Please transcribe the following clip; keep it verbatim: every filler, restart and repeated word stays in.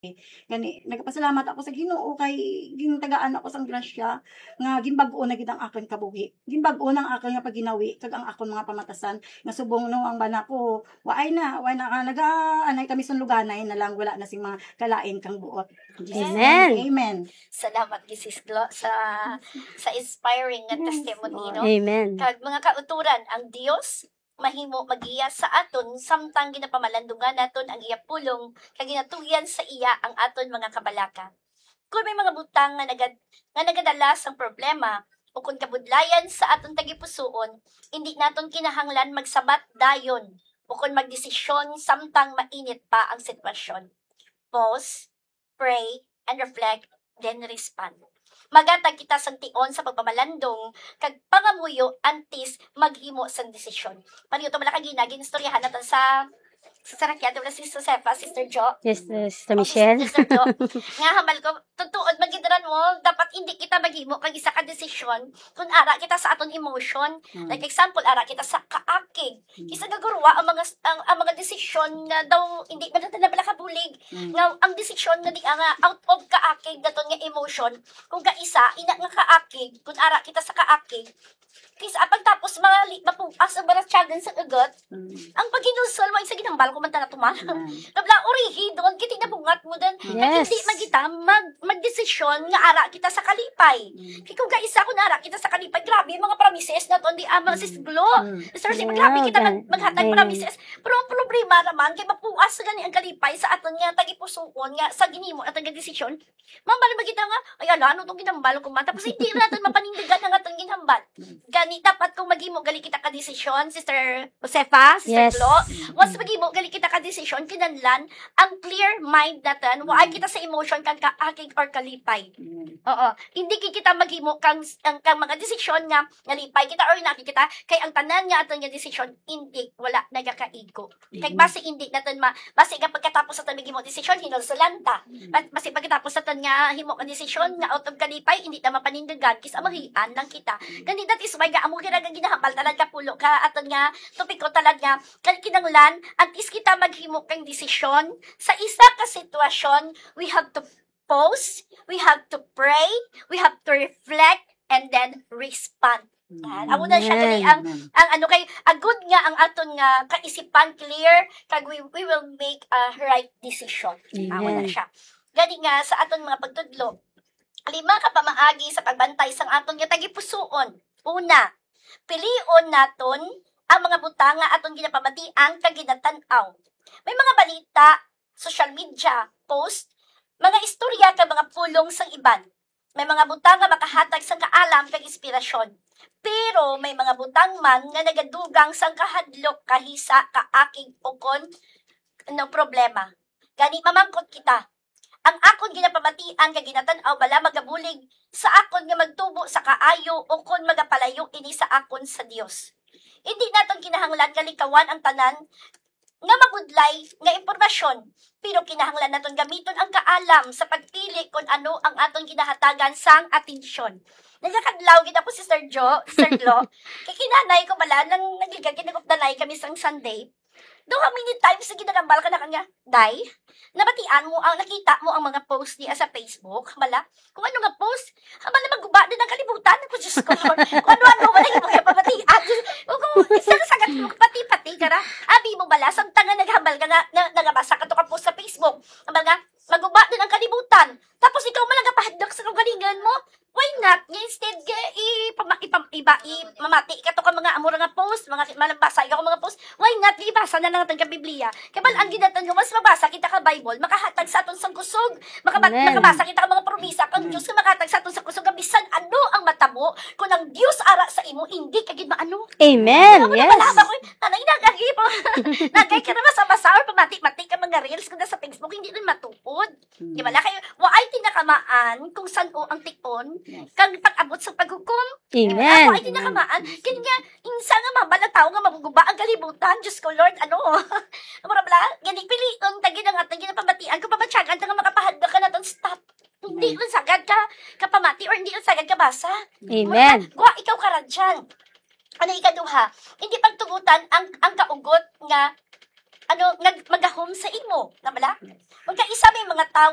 Gani, nagapasalamat ako sa Ginoo kay gintagaan ako sang grasya nga ginbag-o na gid ang akon kabuhi. Ginbag-o na ang akon nga pagginawi kag ang akon mga pamatasan nga subong no ang bana ko, waay na, waay na, ah, nagaanay kami sunluganay na lang, wala na sing mga kalain kang buot. In Jesus' name, Amen. Amen. Salamat gid, Sis Glo, sa, sa inspiring nga Yes, testimony, Lord. No? Amen. Kag mga kauturan, ang Dios mahimo magiya sa aton samtang ginapamalandungan naton ang iya pulong kag ginatugyan sa iya ang aton mga kabalaka. Kung may mga butang nga nagad-, nga nagadala sang problema o kung kabudlayan sa aton tagipusoon, hindi naton kinahanglan magsabat dayon o kung magdesisyon samtang mainit pa ang sitwasyon. Pause, pray, and reflect, then respond. Magatag kita sang tion sa pagpamalandong kag pangamuyo antes maghimo sang desisyon. Pareho to, wala ka gina, ginistoryahan naton sa, sa sarakyan, wala si Josefa, Sister Jo? Yes, uh, Sister O, Michelle. Sister Jo. Nga hambal ko, tutuod, magidran mo, dapat hindi kita maghimo kag isa ka desisyon kung ara kita sa aton emotion. Mm. Like example, ara kita sa kaakig. Mm. Isa nga gurwa ang mga, ang, ang mga desisyon nga daw hindi man natin nabala kabulig. Mm. Nga ang desisyon nga di nga out of kaakig naton nga emotion, kung kaisa, ina nga kaakig, kung ara kita sa kaakig, kis-a pagtapos mali, mapuas ang baratyagan sa ugat, Mm. ang paghinulsol mo, isa ginhambal ko man tana tuman. Mm. Nabla, urihi, doon, kiti nabungat mo din. Yes. Kag hindi magita, mag, magdesisyon nga ara kita sa kalipay. Mm. Kay kung kaisa, kung ara kita sa kalipay, grabe, mga promises naton, di ama, Mm. Sis Glo. Mm. Sir, si Yeah, maghabi kita mag-, gan-, maghatag amen. Promises. Pero ang problema naman, kay mapuas gani ang kalipay sa aton nga tagipusoon nga sa ginimo naton nga desisyon. Mambal ba kita nga, "Ay, ala, ano tong ginambal ko man?" Tapos hindi na natin mapanindigan ang atong ginhambal. Gani, dapat kung maghimo gali kita ka desisyon, Sister Josefa, Sister Yes. Glo, once maghimo gali kita ka desisyon, kinahanglan ang clear mind natin, waay Mm. kita sa emotion kang kaakig or kalipay. Mm. Oo. Hindi ki-, kita maghimo kang, ang, kang mga desisyon nga nalipay kita or inakig kita, kay ang tanan nga aton nga desisyon, hindi, wala nagakaigo. Kay Mm. basi hindi naton ma-, basi nga pagkatapos sa taon maghimo desisyon, hinulsulan ta. Mm. Ba-, basi pagkatapos sa taon nga himo ka desisyon nga out of kalipay, hindi ta mapanindigan, kis-a mahian lang kita. Mm. Gani, that is why nga amo gid ang ginahambal talaga pulo ka aton nga topiko talaga nga kan-, kinahanglan, antes kita maghimo kang desisyon sa isa ka sitwasyon, we have to pause, we have to pray, we have to reflect, and then respond. Yan. Amo na siya gali ang, Amen. Ang ano kay, agud nga ang aton nga kaisipan clear, kag we, we will make a right decision. Amo na Amen. Siya. Gani nga sa aton mga pagtudlo, lima ka pamaagi sa pagbantay sang aton nga tagipusoon. Una, pilion naton ang mga butang nga aton ginapamatian kag ginatan-aw. May mga balita, social media, post, mga istorya kag mga pulong sang iban. May mga butang nga makahatag sang kaalam kag inspirasyon. Pero may mga butang man nga nagadugang sang kahadlok, kahisa, kaakig, ukon no problema. Gani mamangkot kita, ang akon ginapamatian kag ginatan-aw bala magabulig sa akon nga magtubo sa kaayo ukon magapalayo ini sa akon sa Dios? Hindi naton kinahanglan nga likawan ang tanan nga mabudlay nga impormasyon, pero kinahanglan naton gamiton ang kaalam sa pagpili kon ano ang aton ginahatagan sang atensyon. Nagakadlaw gid ako, Sister Jo, Sister Glo. Kay kinanay ko bala, nang nagligad, ginagupdanay kami sang Sunday. Daw how many times na ginagambal ka na kanya, "Day, nabatian mo ang, nakita mo ang mga post niya sa Facebook?" Bala, kung ano nga post, habang na maguba din ang kalibutan. Ako, Diyos ko, Lord. Kung ano-ano, wala yung mga pamatian. Diyos, o kung isang sagat mo, pati-pati ka na. Abi mo bala, samtang nga naghambal ka nga, na, nagabasa ka to ka post sa Facebook. Ang mga, maguba din ang kalibutan. Tapos ikaw man nagapahadlok sa kaugalingon mo. Why not? Nga instead, nga ipama-, ipam-, iba, i-, mamati ka to ka mga amura nga post, mga ki-, malabasa ka mga post. Why not? Ibasa na lang aton ka Biblia. Kay bal-an gid naton nga mas mabasa kita ka Bible, makahatag sa aton sang kusog. Makaba-, Amen. Makabasa kita ka mga promisa kang Amen. Dios nga makahatag sa aton sa kusog nga bisan ano ang matabo, kung ang Dios ara sa imo, hindi ka gid maano. Amen. Ano mo Yes. Nabalaba ko, nanay, nagagi pa. Nagay ka na masa-masa or pamati-mati ka mga reels kung sa Facebook, hindi rin matuod. Di ba? Kay waay tinakamaan kung san-o ang tikon, Yes. Kang pag-abot sa paghukom. Amen. Waay tinakamaan. Yes. Kaya nga, insa nga mabal ang tao nga maguguba ang kalibutan. Diyos ko, Lord, ano? Mura bala, gani, pilion, tagi na nga, tagi na pamatian, kung pamatyagan, ta nga makapahadlok ka naton, stop. Hindi Amen. Lang sagad ka, kapamati, or hindi lang sagad ka basa. Amen. Mura, gwa, ikaw ka radyan. Ano ikaduha? Hindi pagtugutan ang, ang kaugot nga ano, nag-, magahom sa imo, na bala? Magkaisa may mga tawo